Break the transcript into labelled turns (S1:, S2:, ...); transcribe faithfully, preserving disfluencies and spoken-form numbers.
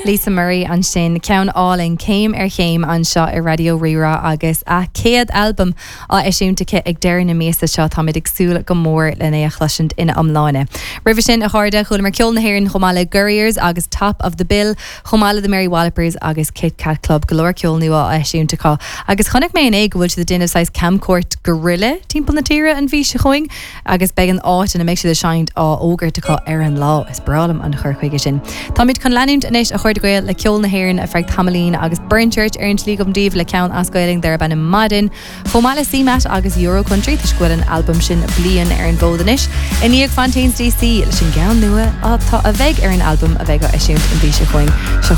S1: Lisa Murray ansin ceann álainn céim ar chéim anseo ar Raidió Rí-Rá agus a céad albam á eisiúint aici ag deireadh na míosa seo táimid ag súil go mór lena é a chloisint ina iomláine. Roimhe sin a chairde chualamar ceol na hÉireann chomh maith le Gurriers agus Top of the Bill chomh maith le the Mary Wallopers agus Kit Kat Club go leor ceol nua á eisiúint acu. Agus chonaic mé inné go bhfuil siad ag déanamh saghas camchuairt guerrilla timpeall na tíre an mhí seo chugainn agus beidh an áit ina mbeidh siad ag seinnt á fhógairt acu ar an lá is breá liom an chur chuige sin. Táimid chun leanúint anois a chairde Gael le ceol na hÉireann ar feadh tamaillín agus Burn Church ar an tslí agam daoibh le ceann as Gaeilge darb ainm Maidin, Chomh maith le CMAT agus Euro Country tá bhfuil an albam sin bliain ar an bhfód anois, i ndiaidh Fontaines DC leis an gceann nua atá a bheidh ar an albam a bheidh á eisiúint an mhí seo chugainn seo